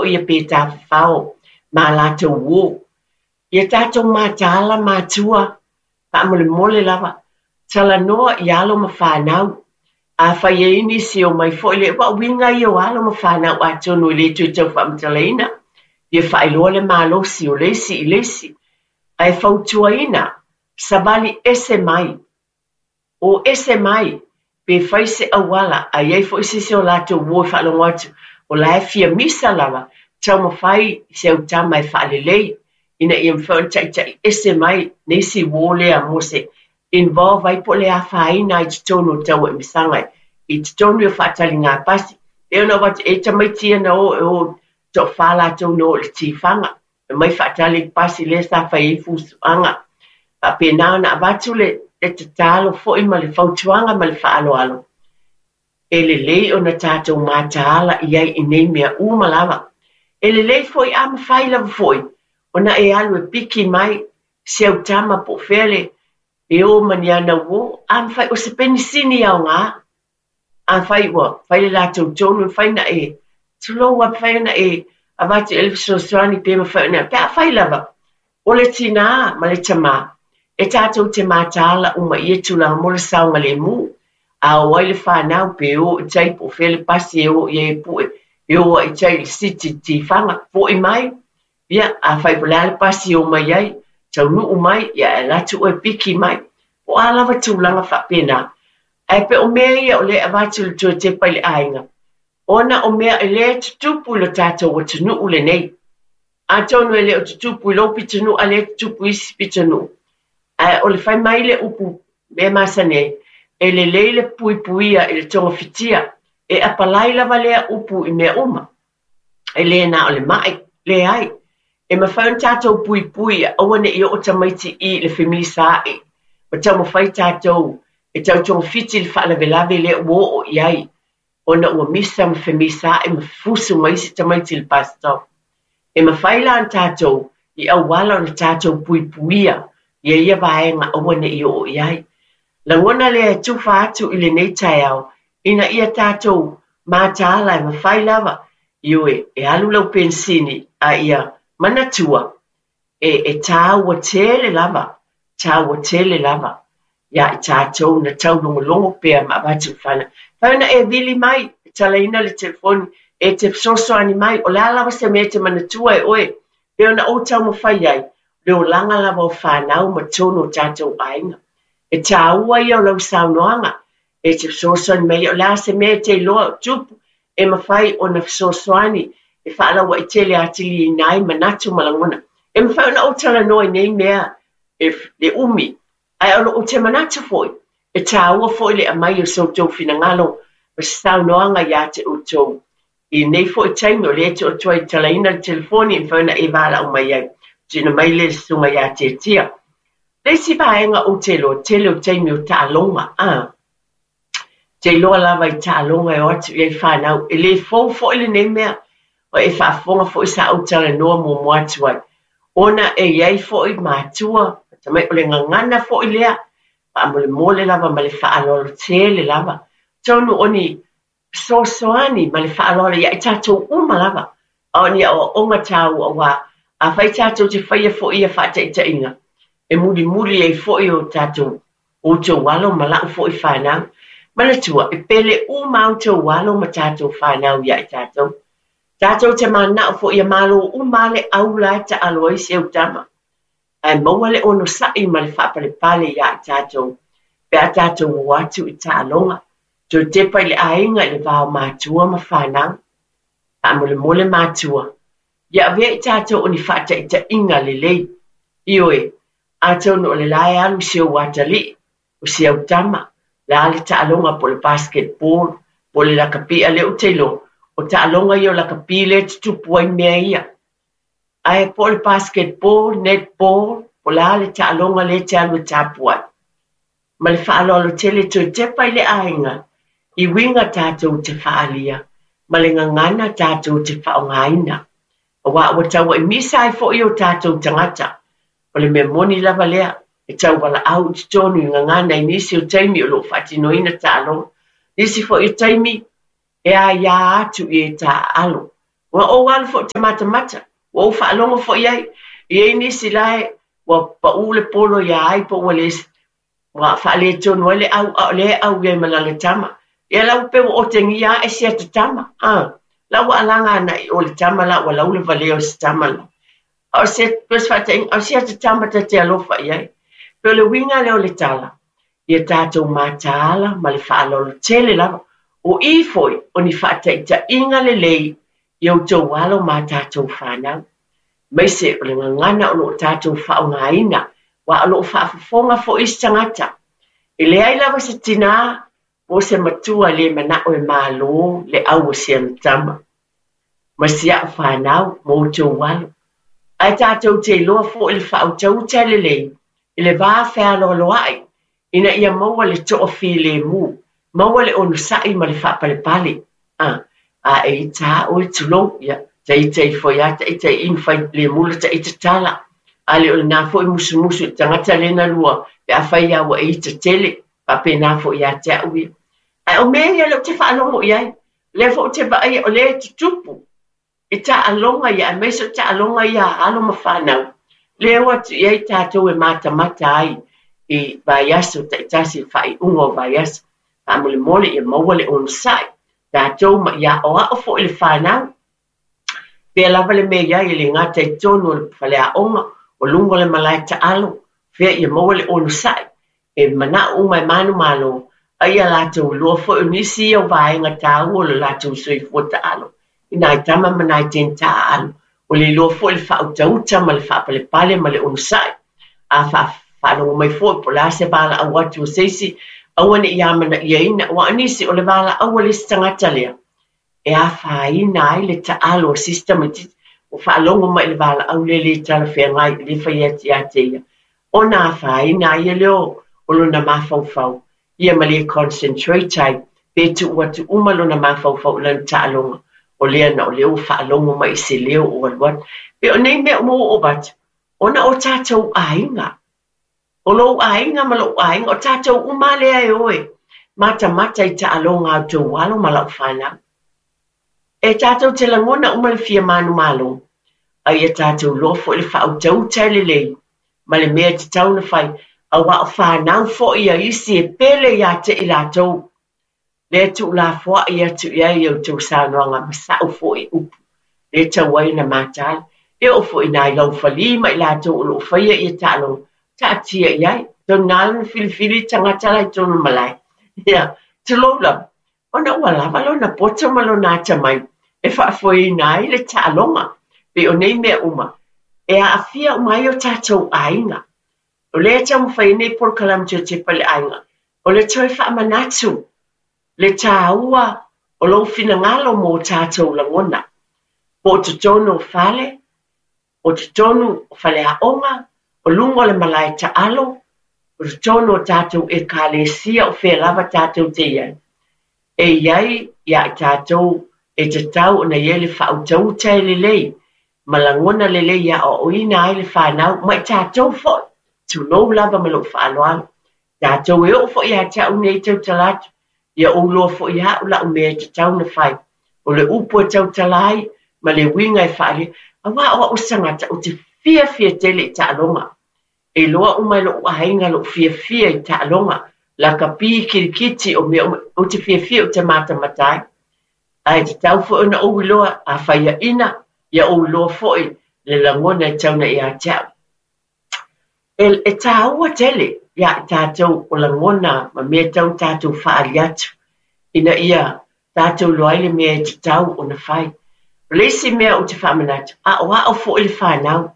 foi ia pe tafafao ma a latou uō. Ia tatou mataala matua, faamolemole lava, talanoa i alo ma fanau. Afai e i ai nisi e omai foi le, aua o uiga ia o alo ma fanau atonu e le toe tau faamatalaina, fia faailoa le malosi o le isi i le isi, ae fautuaina, savali ese mai. O ese mai, pe fai se auala, a i ai foi se isi o latou uo e faalogo atu, o la e fia misa lava, taumafai si au tama e faalelei, ina ia mafai ona taitai ese mai nisi uo lea mo se involve ai po o le afaina ai i totonu o tauaimasaga i totonu o faataliga pasi. E pei ona ou avatu, e i ai tamaiti ia na o e o toafa latou na o i le tifaga, Aumai faatali le pasi lea sa fai ai fusuaga. Faapena ona avatu le tatalo foi ma le fautuaga ma le faaaloalo, e lelei ona tatou mataala i ai i nei mea uma lava. E lelei foi a mafai lava foi ona e alu e piki mai si au tama po o fea le e o ma ni ana uō, a mafai o se penisini aoga. Afai ua fai le latou tonu, e mafai ona e, tulou a, mafai ona e avatu i ai le fesoasoani pe mafai ona, pe afai lava o le tinā ma le tamā, e tatou te mataala uma i ia tulaga mo le saogalemu. A o ai le fanau pe o i tai po o fea le pasi e o i ai e pue, e o ai i tai i le city i Tifaga, foi mai, Ia, afai po o le a le pasi e o mai ai, taunuu mai, ia e alu atu oe piki mai. Po o a lava tulaga faapena. Ae pei o mea ia o lea e avatu le toe tepa i le aiga, ona o mea e le tutupu i lo tatou atunuu lenei. Atonu e le o tutupu i lou pitonuu a lea e tutupu i isi pitonuu. Ae o le fai mai le upu mea masani ai, e lelei le puipuia i le togafitia. E apalai lava lea upu i mea uma. E le na o le ma'i, leai. E mafai ona tatou puipui ia aua ne i oo tamaiti i le femisaai ma taumafai tatou e tau togafiti le faalavelave lea ua oo i ai ona ua misa ma femisaai ma fusu ma isi tamaiti i le bus stop. E mafai la ona tatou i auala ona tatou puipuia ia ia vaega aua ne i oo i ai. Lagona lea e tufa atu i lenei taeao ina ia tatou mataala e mafai lava, ioe, e alu lau penisini a ia manatua e, e tāua tele lava, tāua tele lava iā i tatou na taulogologo pea ma avatu i fanau. Fai ona e vili mai, e talaina le telefoni, e te fesoasoani mai, o le a lava se mea e te manatua e oe, pei ona ou taumafai ai, le olaga lava o fanau ma tonu o tatou aiga. E tāua ia o lau saunoaga, e te fesoasoani mai, o le a se mea e te iloa o tupu, e mafai ona fesoasoani e faalauaitele atiliina ai manatu ma lagona. E mafai ona ou talanoa i nei mea e le umi, ae o lou te manatu foi, e tāua foi le aumai o so outou finagalo ma se saunoaga iā te outou. I lenei foi taimi o lea e tuu atu ai e talaina le telefoni e mafai ona e valaau mai ai. Tuuina mai lea i le susuga ia Tiatia. Le isi vaega ou te iloa, tele o taimi o taaloga, a. Te iloa lava i taaloga e o atu i ai fanau. E le fou foi lenei mea, o e faafofoga foi sa ou talanoa muamua atu ai. Ona e i ai foi matua, tamai, o le gagana foi lea, faamolemole lava ma le faaaloalo tele lava. Atonu o ni fesoasoani ma le faaaloalo ia i tatou uma lava, a o ni aoaoga tāua aua afai tatou te faia foi ia faataitaiga, e mulimuli ai foi o tatou outou alo ma la'u foi fanau. Manatua, e pele uma outou alo ma tatou fanau ia i tatou. Tatou te mana'o foi ia malo uma le au la e taalo ai si au tama. Ae maua le onosai ma le faapalepale ia i tatou pe a tatou o atu i taaloga. Toe tepa i le aiga i le va o matua ma fanau. Faamolemole matua, ia avea i tatou o ni faataitaiga lelei. Ioe, atonu o le la e alu si ou atalii, o si au tama, le a le taaloga po o le basketball, po o le lakapi, a o lea ou te iloa, o taaloga ia o lakapi lea e tutupu ai mea ia. Ae po o le basketball, netball, po o le a le taaloga lea e te alu e tapuai. Ma le faaaloalo tele toe tepa i le aiga i uiga tatou te faaalia ma le gagana tatou te faaaogaina, aua ua tauaimisa ai foi o tatou tagata. O le mea moni lava lea, e tau valaau i totonu i gagana i nisi o taimi o lo o faatinoina taaloga, nisi foi o taimi e aia atu i e taaalo. Ua ou alu foi ou te matamata, ua ou faalogo foi i ai, e i ai nisi la e ua pau le polo ia ai po ua le ua faaletonu ai le au, a o lea e au i ai ma lana tama. Ia la ua pei ua otegia ae si ata tama, a. La ua alaga agai i o le tama la ua laulavalea o si tama la. A o se, pei o se faataitaiga, a o si ata tama ta te alofa i ai. Pei o le uiga lea o le tala, ia tatou mataala ma le faaaloalo tele lava. O i foi o ni faataitaiga lelei i outou alo ma a tatou fanau, aemaise o le gagana o lo o tatou faaaogaina, aua o lo o faafofoga foi isi tagata. E leai lava se tinā po o se matua e le manao e malo le au o si ana tama ma si au fanau ma outou alo. Ae tatou te iloa foi le faautauta lelei i le va fealoaloai ina ia maua le toafilemu, maua le onosai ma le faapalepale. A, a e ita a oe, tulou, ia, ta ita ifo ia ta ita i ma fai lemu la ta ita tala. A le o lena foi musumusu i le tagata lea na lua pe afai lava ua e ita tele, faapena foi ia te au ia. Ae o mea ia lea ou te faalogo i ai, lea foi ou te vaaia o lea e tutupu i taaloga ia, aemaise o taaloga ia a alo ma fanau, lea e o atu i ai tatou e matamata ai i vaiaso taitasi, i faaiuga o vaiaso. Faamolemole ia maua le onosai, tatou ma ia aoao foi le fanau. Pea lava le mea i ai, e le gata i totonu o le faleaoga, o luga o le malae taalo, fea ia maua le onosai, e manao uma e manumalo, a ia latou iloa foi o nisi ia o vaega taua o le latou soifua taalo i nai tama ma nai teine taaalo. O le iloa foi le faautauta ma le faapalepale ma le onosai. A faalogo mai foi po o le a se valaau atu a se isi, aua ne i amanaiaina, aua o nisi o le valaau a le isi tagata lea, e afaina ai le taalo a si isi tamaitiiti ua faalogo mai i le valaau lea le talafeagai e le fai atu ia te ia, ona afaina ai lea o lona mafaufau ia ma le concentrate ai pe tuu atu uma lona mafaufau i lana taaloga, o lea na o lea ua faalogo mai i se leo o alu atu. Pe o nei mea uma ua ou avatu, ona o tatou aiga. O lou aiga ma lou aiga, o tatou uma lava lea e o e matamata i taaloga a outou alo ma lau fanau. E tatou te lagona uma le fia manumalo, a ia tatou iloa foi le faautauta e lelei ma le mea e tatau ona fai, aua o fanau foi a isi e pele ia te i latou. Lea e tuulafoai atu i ai a outou saunoaga ma sa'u foi upu, lea e tau ai ona mataala. E oo foi i nai laufali ma i latou o lo o faia ia taaloga, taatia i ai. Tonu na ala ona filifili le tagata la i totonu o le malae. Ia, tulou lava, ona ua lava lona poto ma lona atamai e faafoeina ai le taaloga. Pei o nei mea uma, e aafia uma ai o tatou aiga. O lea e taumafai ai nei polokalame Toe Tepa i le Aiga, o le toe faamanatu le tāua o lou finagalo mo o tatou lagona, po o totonu o fale, o totonu o faleaoga, o luga o le malae taalo, o totonu o tatou Ekalesia o fea lava tatou te i ai. E i ai ia i tatou e tatau ona i ai le faautauta e lelei ma lagona lelei e aoaoina ai le fanau ma i tatou foi, tulou lava ma lou faaaloalo. Tatou e oo foi ia te au nei tautala atu, ia ou iloa foi e au la'u mea e tatau ona fai, o le upu e tautala ai ma le uiga e faaalia, aua o a'u se tagata ou te fiafia tele i taaloga. E iloa uma e lo'u aiga lo'u fiafia i taaloga, lakapi, kirikiti, o mea uma, ou te fiafia ou te matamata ai. Ae tatau foi ona ou iloa, a faiaina, ia ou iloa foi le lagona e tau na ia te au. E, e tāua tele iā i tātou o lagona ma mea e tau na tātou faaali atu, ina ia tātou iloa ai le mea e tatau ona fai. O le isi mea ou te faamanatu, aoao foi le fanau.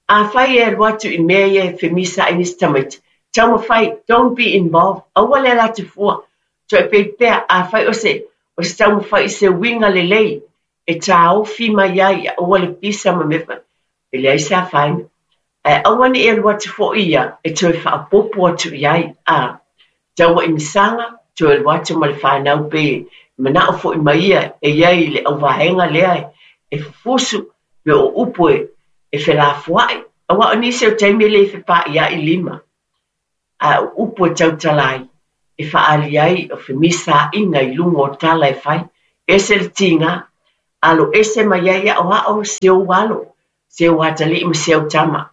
Afai e alu atu i mea ia e femisaai nisi tamaiti, taumafai, don't be involved, aua le ala atu fua, Toepei pea, afai o se, o se taumafai i se uiga lelei e taofi mai ai ia aua le pisa ma mea faapena, e leai se afaina. Ae aua ne i alu atu foi ia e toe faaopoopo atu i ai, a taua i masaga, toe alu atu ma le fanau pei e manao foi mai ia e i ai i le auvaega lea e fufusu pe o upu e felafoai, aua o nisi o taimi e le fepaaiai lima. A o upu e tautala ai, e faaali ai o femisaaiga i luga o tala e fai. Ese le tiga, Alo ese mai ai aʻoaʻo si ou alo, si ou atalii ma si au tama.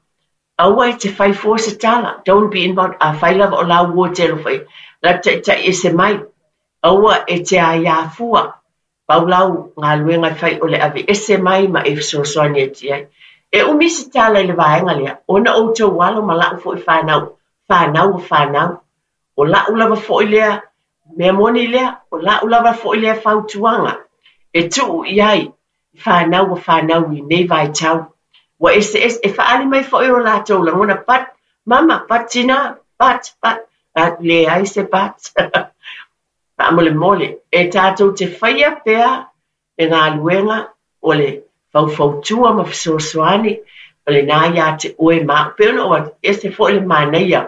Aua e te fai fua se tala, don't be involved, afai lava o lau uo e te alofa i ai, latou taitai ese mai. Aua e te aiā fua, pau lau galuega e fai o le ave ese mai ma e fesoasoani atu i ai. E umi se tala i le vaega lea, ona o outou alo ma la'u foi fanau, fanau a fanau. O la'u lava foi lea mea moni lea, o la'u lava foi lea fautuaga e tuu i ai i fanau a fanau i lenei vaitau. Ua eseese, e faaali mai foi o latou lagona, but mama, but tina, but, but, leai se but. Faamolemole, e tatou te faia pea le galuega o le faufautua ma fesoasoani, o lena ia te oe ma au. Pei ona ou atu, e ese foi le manaia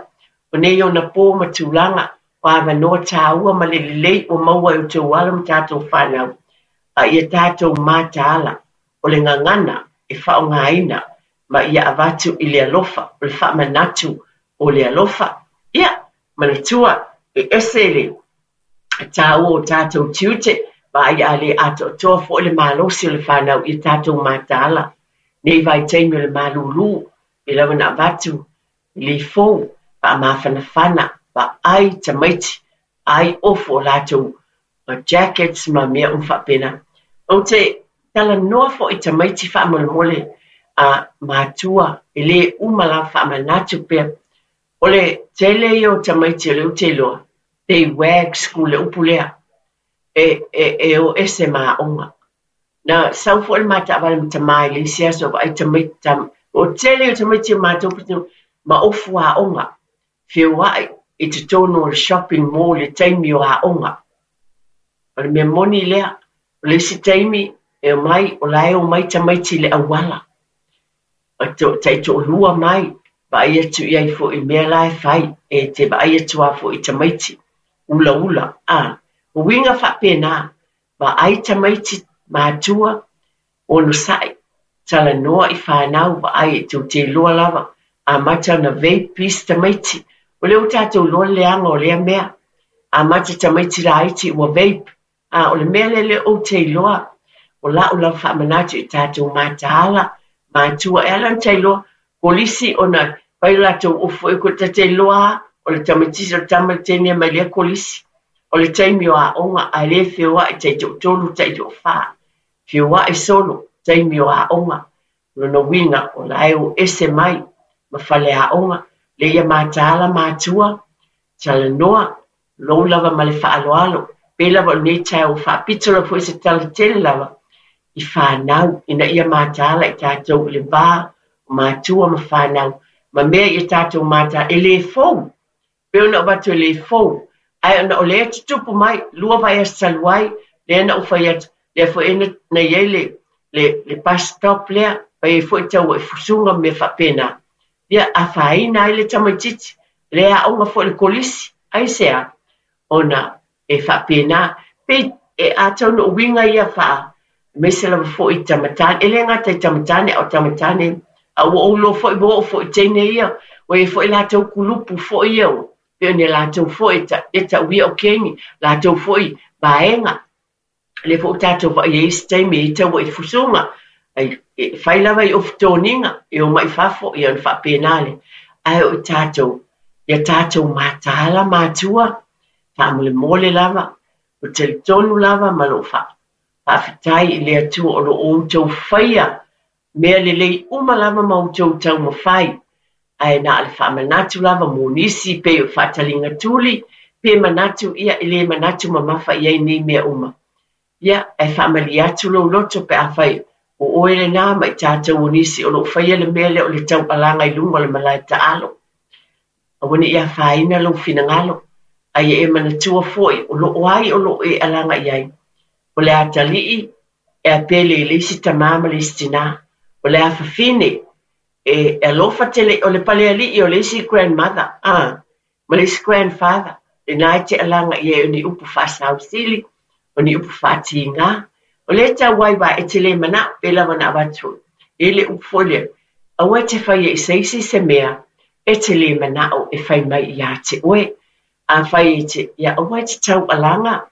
o nei ona pō ma tulaga o avanoa tāua ma le lelei ua maua e outou alo ma tatou fanau, a ia tatou mataala o le gagana e faaaogaina ma ia avatu i le alofa, o le faamanatu o le alofa. Ia, manatua, e ese le tāua o tatou tiute, vaai a le atoatoa foi le malosi o le fanau ia tatou mataala. Nei vaitaimi o le malūlū, pei lava ona avatu i le ifou, faamafanafana, vaai tamaiti, ai ofu o latou jackets ma mea uma faapena. Ou te talanoa foi i tamaiti faamolemole a matua, e lē uma lava faamanatu pea. O le tele ia o tamaiti o lea ou te iloa, they wag school, le upu lea, e, e, e o ese ma aoga. Na sau foi le ma taavale ma tamā i le isi aso vaai tamaiti, tam, o tele o tamaiti o matou pitonuu ma ofu aoga, feoai i totonu o le shopping mall i le taimi o aoga. O le mea moni lea, o le isi taimi e omai, o la e omai tamaiti i le auala. Taitoalua mai, vaai atu i ai foi i mea la e fai, e te vaai atu lava foi i tamaiti, ulaula, a. O uiga faapena, vaai tamaiti matua, onosai, talanoa i fanau, vaai e tou te iloa lava, amata ona vape isi tamaiti. O lea ua tatou iloa le leaga o lea mea. Amata tamaiti laiti ua vape. A o le mea lea lea ou te iloa, o la'u lava faamanatu i tatou mataala, matua, e ala ona ta iloa, kolisi ona fai o latou ofu foi, ta te iloa lava, o le tamaitiiti o le tama le teine mai lea kolisi. O le taimi o aoga, ae le feoai taitoatolu, taitoafa. Feoai solo, taimi o aoga. O lona uiga, o la e o ese mai ma faleaoga. Lea ia mataala matua, talanoa, lou lava ma le faaaloalo. Pei lava o lenei taeao ua faapito lava foi se tala tele lava i fanau, ina ia mataala i tatou i le va o matua ma fanau, ma mea ia tatou mataala, e le fou. Pei ona avatu e le fou, ae ona o lea e tutupu mai, 2 vaiaso talu ai, lea na ou fai atu, lea foi na i ai le, le, le bus stop lea, fai ai foi tauaifusuga ma mea faapena. Ia, afaina ai le tamaitiiti, le aoga foi i le kolisi, aisea? Ona e faapena, pei e atonu o uiga ia faa, aemaise lava foi i tamatane, e le gata i tamatane, a o tamatane, a ua ou iloa foi, ua oo foi i teine ia, ua i ai foi latou kulupu foi ia, pei o ni latou foi e, ta, e tauia o kengi, latou foi vaega. Lea foi ua tatou vaai ai isi taimi e i ai tauaifusuga, ai, e fai lava i ofu toniga, e omai i fafo, ia ona faapena lea. Ae o i tatou, ia tatou mataala matua, faamolemole lava, o talitonu lava ma lou faafetai i le Atua o lo o outou faia mea lelei uma lava ma outou taumafai, ae na o le faamanatu lava mo nisi pei o faataliga tuli, pe manatu ia e le manatu mamafa i ai nei mea uma. Ia, ae faamalie atu lou loto pe afai o oe lena ma i tatou o nisi o lo o faia le mea lea o le taualaga i luga o le malae taalo. Aua ne i afaina lou finagalo, a ia e manatua foi o lo o ai o lo o e alaga i ai. O le atalii e a pele i le isi tamā ma le isi tinā. O le afafine e alofa tele, o le palealii o le isi grandmother, a, ma le isi grandfather, lena e te alaga i ai o ni upu faasausili, o ni upu faatigā. O lea e tau ai aua e te le manao, pei lava ona avatu foi. E i ai le upu foi lea, aua e te faia i se isi se mea e te le manao e fai mai ia te oe. Afai e te, ia aua e te taualaga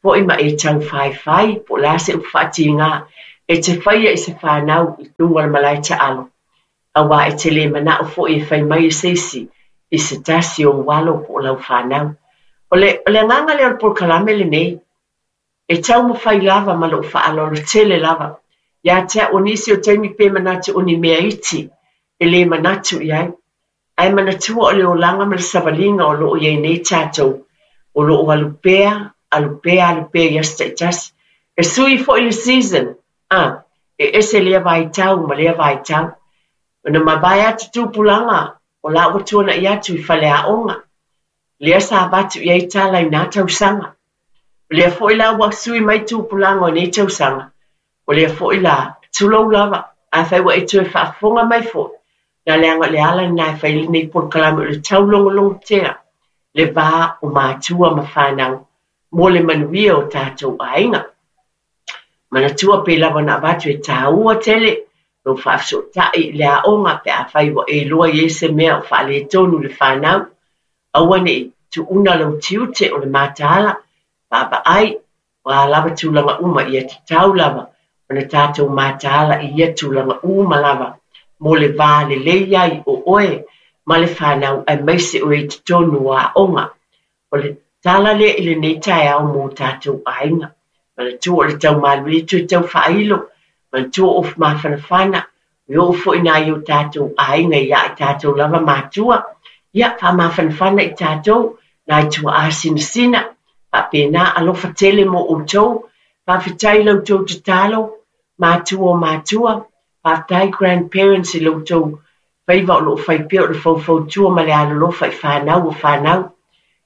foi ma e taufaifai po o le a se upu faatigā. E te faia i se fanau i luga o le malae taalo, aua e te le manao foi e fai mai e se isi i se tasi o ou alo po o lau fanau. O le, o le agaga lea o le polokalame lenei, e taumafai lava ma lou faaaloalo tele lava ia te au o nisi o taimi pe manatu o ni mea iti e le manatu i ai. Ae manatua o le olaga ma le savaliga o lo o i ai nei tatou, o lo o alu pea, alu pea, alu pea i aso taitasi. E sui foi le season, a, e ese lea vaitau ma lea vaitau. Ona mavae atu tupulaga o la ua tuanai atu i faleaoga, lea sa avatu i ai tala i na tausaga. O lea foi la ua sui mai tupulaga o nei tausaga, o lea foi la, tulou lava, afai ua e toe faafofoga mai foi, na leaga o le ala lena e fai ai lenei polokalame o le taulogologotea le va o matua ma fanau mo le manuia o tatou aiga. Manatua pei lava ona avatu e taua tele lou faafesootai i le aoga pe afai ua e iloa i ai se mea o faaletonu i le fanau. Aua ne i tuuna lou tiute o le mataala, vaavaai, o a lava tulaga uma, ia tatau lava ona tatou mataala i ia tulaga uma lava mo le va lelei ai o oe ma le fanau aemaise o e i totonu o aoga. O le tala lea i lenei taeao mo tatou aiga. Manatua o le taumalu toe tau faailo, manatua o mafanafana, e oo foi nai o tatou aiga ia i tatou lava matua, ia faamafanafana i tatou, nai tuaa sinasina, faapena alofa tele mo outou, faafetai i la outou tatalo, matua o matua, faafetai grandparents i la outou faiva o lo o fai pea o le faufautua ma le alolofa i fanau o fanau.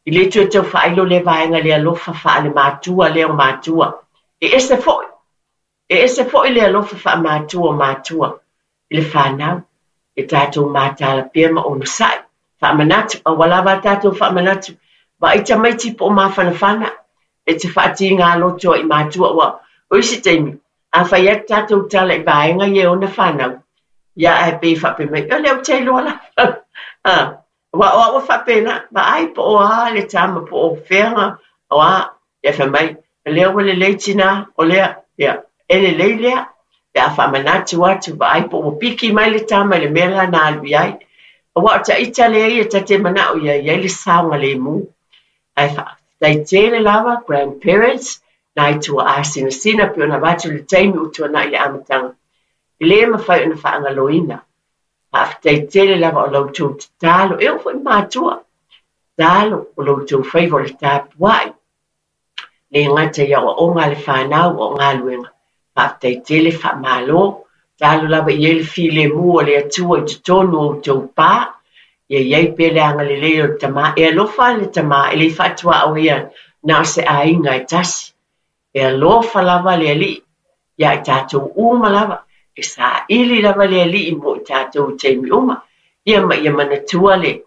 E le toe tau faailo lea vaega i le alofa faale-matua lea o matua. E ese foi, e ese foi le alofa faamatua o matua i le fanau. E tatou mataala pea ma onosai. Faamanatu, aua lava a tatou faamanatu, vaai tamaiti po o mafanafana, e te faatiga loto ai i matua, aua o isi taimi, a fai atu tatou tala i vaega ia e ona fanau, ia ae pei e faapea mai, o lea ou te iloa lava. Aua o au e faapena, vaai po o a le tama, po o fea, o a, ia fai mai, o lea ua lelei tinā, o lea, ia, e lelei lea, pe a faamanatu atu, vaai po ua piki mai le tama i le mea la na alu i ai. Aua o taita lea ia ta te manao ia i ai le saogalemu. Ae faafetai tele lava grandparents, nai tuaa sinasina pei ona avatu i le taimi ua tuanai i le amataga. E le mafai ona faagaloina. Faafetai tele lava o la outou tatalo, e oo foi i matua, tatalo o la outou faiva o le tapuai. Le gata i aoaoga a le fanau o galuega. Faafetai tele, faamalo. Tatalo lava i ai le filemu o le Atua i totonu o outou pa. Ia i ai pea le agalelei o le Tama. E alofa le Tama, e le i faatuaoia na o se aiga e tasi. E alofa lava le Alii ia i tatou uma lava, e saili lava le Alii mo i tatou i taimi uma. Ia ma ia manatua le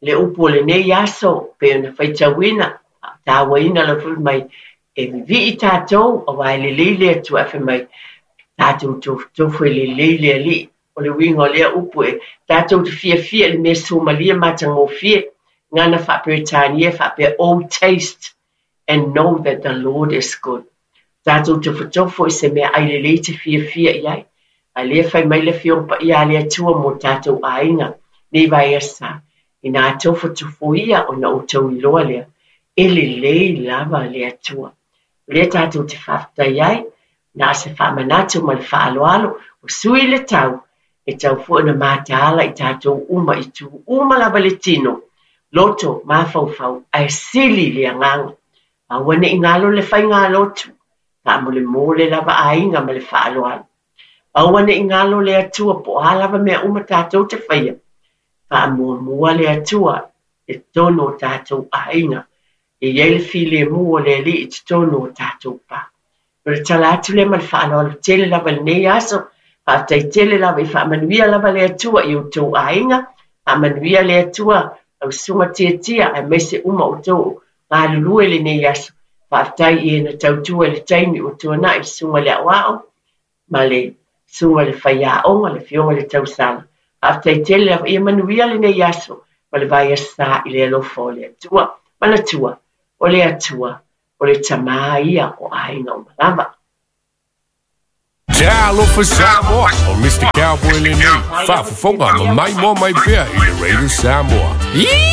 le upu o lenei aso pei ona faitauina, faatauaina lava foi mai, e vivii tatou aua e lelei le Atua ae fai mai, tatou tofotofo e lelei le Alii. O le uiga o lea upu e tatou te fiafia i le mea suamalie matagofie, gana faa-Peretania faapea, Oh taste and know that the Lord is good. Tatou tofotofo i se mea ai lelei te fiafia i ai. A lea fai mai le Afioga Paia a le Atua mo tatou aiga nei vaiaso, inā tofotofoia ona outou iloa lea, e lelei lava le Atua. O lea tatou te faafetai ai, na o se faamanatu ma le faaaloalo, ua sui le tau, e tau foi ona mataala i tatou uma i itu uma lava le tino, loto, mafaufau, ae sili le agaga. Aua ne i galo le faigalotu, faamolemole lava aiga ma le faaaloalo. Aua ne i galo le Atua po o a lava mea uma tatou te faia, faamuamua le Atua i totonu o tatou aiga. E i ai le filemu o le Alii i totonu o tatou pa. O le tala atu lea ma le faaaloalo tele lava i lenei aso. Faafetai tele lava i faamanuia lava le Atua i outou aiga. Faamanuia le Atua lau susuga Tiatia aemaise uma outou galulue i lenei aso. Faafetai i e na tautua i le taimi ua tuanai le susuga i le aoao ma le susuga i le faiaoga, le Afioga i le Tausala. Faafetai tele lava. Ia manuia lenei aso ma le vaiaso sa i le alofa o le Atua. Manatua, o le Atua, o le Tama ia o aiga uma lava. Talofa Samoa, o Mr. Cowboy lenei, faafofoga ma maimoa mai pea i le Radio Samoa.